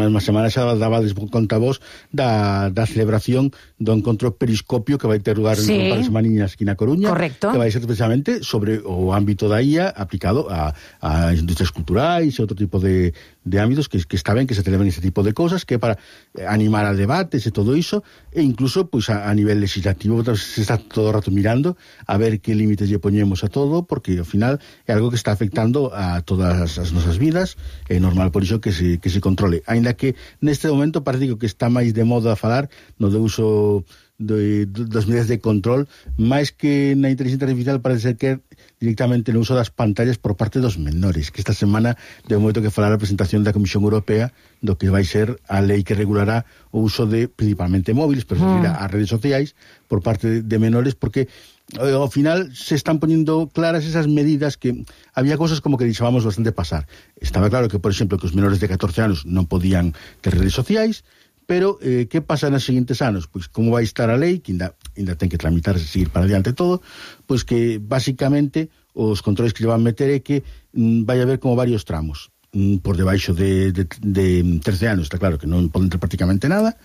mesma semana xa dabades conta vos da celebración do encontro Periscopio que vai ter lugar en un par de semaniñas aquí na Coruña. Correcto. Que vai ser precisamente sobre o ámbito da IA aplicado a industrias culturais e outro tipo de ámbitos que está ben que se celebren ese tipo de cosas, que é para animar a debates e todo iso, e incluso pois a nivel legislativo se está todo o rato mirando a ver que límites lle poñemos a todo, porque ao final é algo que está afectando a todas as nosas vidas, é normal por iso que se controle, aínda que neste momento parece que está máis de moda a falar no de uso das medidas de control, máis que na inteligencia artificial parece ser que directamente no uso das pantallas por parte dos menores, que esta semana de momento que falar a presentación da Comisión Europea do que vai ser a lei que regulará o uso de principalmente móviles, pero as redes sociais por parte de menores, porque ao final se están poniendo claras esas medidas que había cosas como que deixábamos bastante pasar. Estaba claro que, por exemplo, que os menores de 14 anos non podían ter redes sociais, pero que pasa nos seguintes anos? Pois como vai estar a lei, que ainda ten que tramitarse, seguir para adiante todo, pois que basicamente os controles que lle van meter é que vai haber como varios tramos. Por debaixo de 13 anos, está claro que non poden ter prácticamente nada,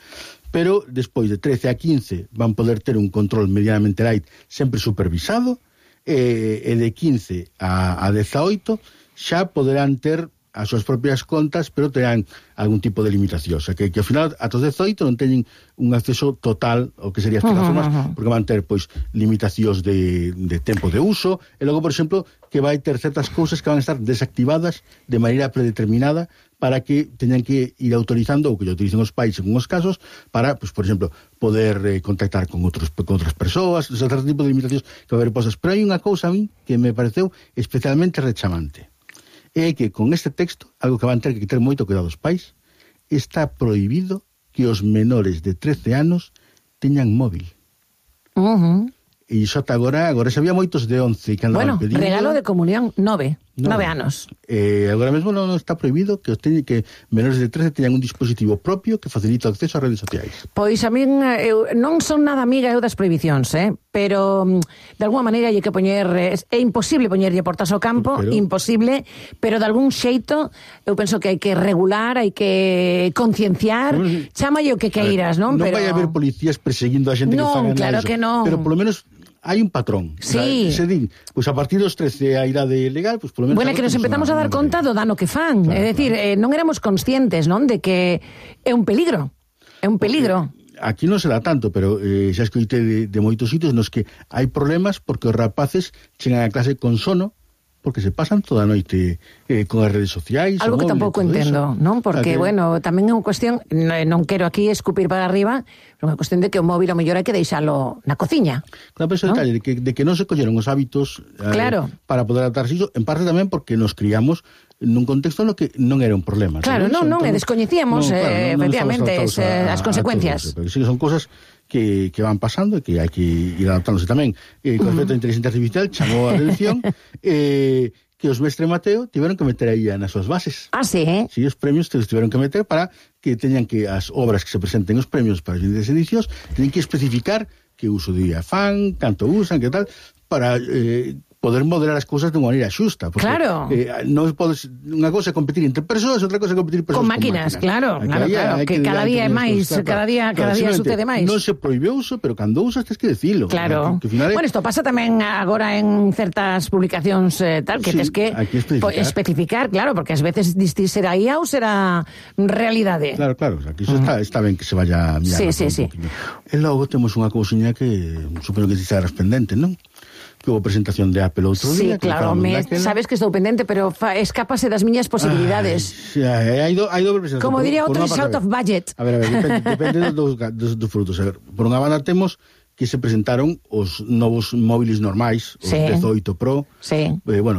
pero despois de 13 a 15 van poder ter un control medianamente light, sempre supervisado, e de 15 a 18 xa poderán ter as súas propias contas, pero terán algún tipo de limitación. O sea, que ao final, ata os 18 non teñen un acceso total ao que serían as plataformas, porque van ter, pois, limitacións de tempo de uso, e logo, por exemplo, que vai ter certas cousas que van a estar desactivadas de maneira predeterminada para que teñan que ir autorizando, ou que lle autoricen os pais en uns casos, para, pois, por exemplo, poder contactar con outras persoas, certo tipo de limitacións que vai haber posas. Pero hai unha cousa a mí que me pareceu especialmente rechamante. É que con este texto, algo que van ter que ter moito cuidado os pais, está prohibido que os menores de 13 anos teñan móvil. E iso ata agora xa había moitos de 11 que andaban pedindo. Bueno, regalo de comunión, 9 anos. Agora mesmo non está prohibido que menores de 13 teñan un dispositivo propio que facilita o acceso ás redes sociais. Pois a min, eu non son nada amiga eu das prohibicións, pero de alguma maneira hai que poñer, é imposible poñerlle portas ao campo, imposible, pero de algún xeito eu penso que hai que regular, hai que concienciar, chámalle o que queiras, non? Non vai haber policías perseguindo a xente que fagan eso. Claro que non. Pero polo menos hai un patrón. Sí. Se din, pois a partir dos 13 a idade legal, pois polo menos... Bueno, que nos empezamos a dar conta do dano que fan. Claro, é dicir, non éramos conscientes, non, de que é un peligro. É un peligro. Aquí non se dá tanto, pero xa escoitei de moitos sitios nos que hai problemas porque os rapaces chegan a clase con sono, porque se pasan toda a noite con as redes sociais. Algo que tampouco entendo, non? Porque, bueno, tamén é unha cuestión, non quero aquí escupir para arriba, pero é unha cuestión de que o móvil ao mellor hai que deixalo na cociña. Claro, pero ese detalle de que non se colleron os hábitos para poder adaptarse iso, en parte tamén porque nos criamos nun contexto no que non era un problema. Claro, non, descoñecíamos efectivamente as consecuencias. Pero sí que son cosas que van pasando e que hai que ir adaptándose tamén. Con respecto a inteligencia artificial, chamou a atención que os Mestre Mateo tiveron que meter aí nas súas bases. Sí? Sí, os premios que tiveron que meter para que teñan que as obras que se presenten os premios para as siguientes edicións teñen que especificar que uso de fan, canto usan, que tal, para poder moderar as cousas de unha maneira xusta. Porque, claro. Non podes, unha cosa é competir entre persoas, outra cosa é competir persoas con máquinas. Claro, que cada día é máis, cada día sucede máis. Non se proíbe o uso, pero cando usas tens que dicilo. Claro. Bueno, isto pasa tamén agora en certas publicacións tal, que tens que especificar, claro, porque ás veces distir será IA ou será realidade. Claro, aquí iso está ben que se vaya a mirar. Sí. E logo temos unha cousiña que supoño que estarás pendente, non? Que houve presentación de Apple outro día. Sí, claro, sabes que estou pendente, pero escápase das miñas posibilidades. Hai dobre presentación. Como diría outro, is out of budget. A ver, depende dos frutos. A ver, por unha banda temos que se presentaron os novos móviles normais, os 18 Pro,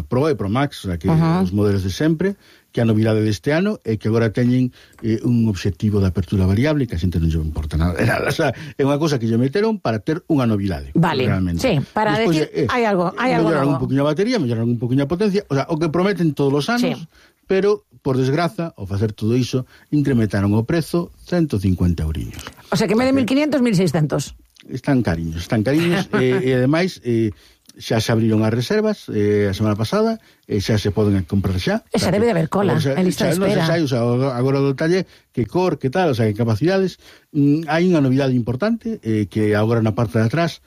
Pro e Pro Max, o sea, que os modelos de sempre, que a novidade deste ano é que agora teñen un obxectivo de apertura variable que a xente non lle importa nada. O sea, é unha cosa que lle meteron para ter unha novidade. Vale, realmente. Sí, para despois, decir, hai algo melloraron novo. Un poquinho a batería, melloraron un poquinho a potencia, o sea, o que prometen todos os anos, pero, por desgraza, ao facer todo iso, incrementaron o prezo 150 euriños. O sea, que en vez de 1.500, 1.600. Están cariños, e ademais... xa se abriron as reservas a semana pasada, xa se poden comprar xa. Esa debe de haber cola, en lista de espera. Non se sai, agora o detalle, que cor, que tal, o sea, que capacidades. Hai unha novidade importante, que agora na parte de atrás,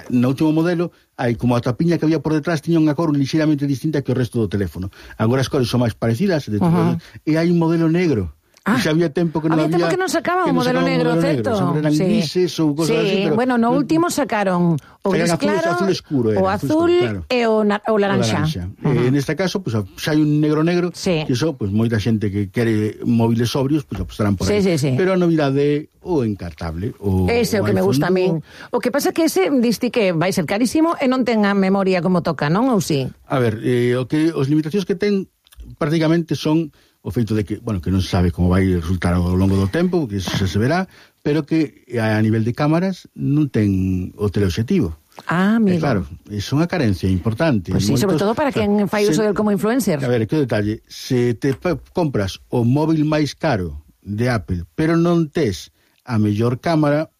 no último modelo, hai como a tapiña que había por detrás tiña unha cor ligeiramente distinta que o resto do teléfono. Agora as cores son máis parecidas, e hai un modelo negro. Xa había tempo que non había... tempo que non sacaba o modelo negro, certo? Eran grises ou cosas así, pero... Bueno, no último sacaron o gris claro, azul escuro, o azul e o laranxa. Neste caso, pues, xa hai un negro, que iso, pues, moita xente que quere móviles sobrios, pues, apostarán por aí. Pero a novidade o encartable. Ese é o que me gusta a min. O que pasa que ese, diste que vai ser carísimo e non ten a memoria como toca, non? Ou si? A ver, os limitacións que ten prácticamente son o feito de que, bueno, que non se sabe como vai resultar ao longo do tempo, que se verá, pero que a nivel de cámaras non ten o teleobxectivo. Amigo. Claro, é unha carencia importante. Pois sí, sobre todo para quen fai uso del como influencer. A ver, que detalle, se te compras o móvil máis caro de Apple, pero non tes a mellor cámara,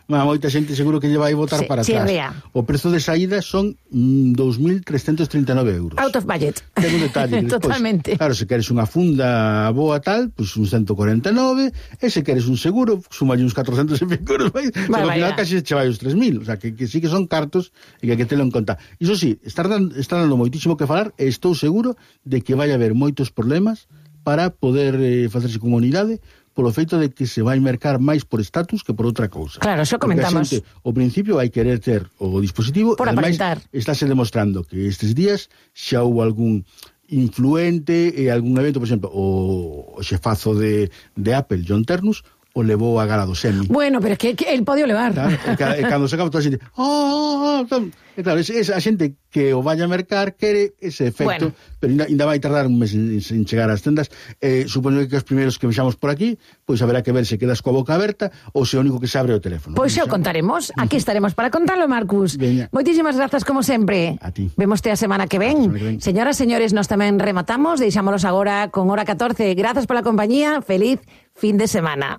moita xente seguro que lle vai botar para atrás. O prezo de saída son 2.339 euros. Out of budget. Ten un detalle. Totalmente. Claro, se queres unha funda boa tal, pues un 149, e se queres un seguro, sumalle uns 400 e pico euros. Ao final casi che vai os 3.000. O sea, que sí que son cartos e que hai que telo en conta. Iso sí, está dando moitísimo que falar e estou seguro de que vai haber moitos problemas para poder facerse comunidade polo feito de que se vai mercar máis por estatus que por outra cousa. Claro, xo comentamos. Porque a xente, ao principio, vai querer ter o dispositivo, por aparentar. Estáse demostrando que estes días xa houve algún influente e algún evento, por exemplo, o xefazo de Apple, John Ternus, o levou a gala do Semi. Bueno, pero é que el pode levar. Claro, e cando se acaba toda a xente, claro, a xente que o vaya a mercar quere ese efecto, pero ainda vai tardar un mes en chegar ás tendas. Supoño que os primeiros que vexamos por aquí, pois haberá que ver se quedas coa boca aberta ou se o único que se abre o teléfono. Pois xa o contaremos, aquí estaremos para contarlo, Marcus. Moitísimas grazas como sempre. A ti. Vémoste a semana que ven. Señoras, señores, nos tamén rematamos, deixámonos agora con hora 14. Grazas pola compañía, feliz fin de semana.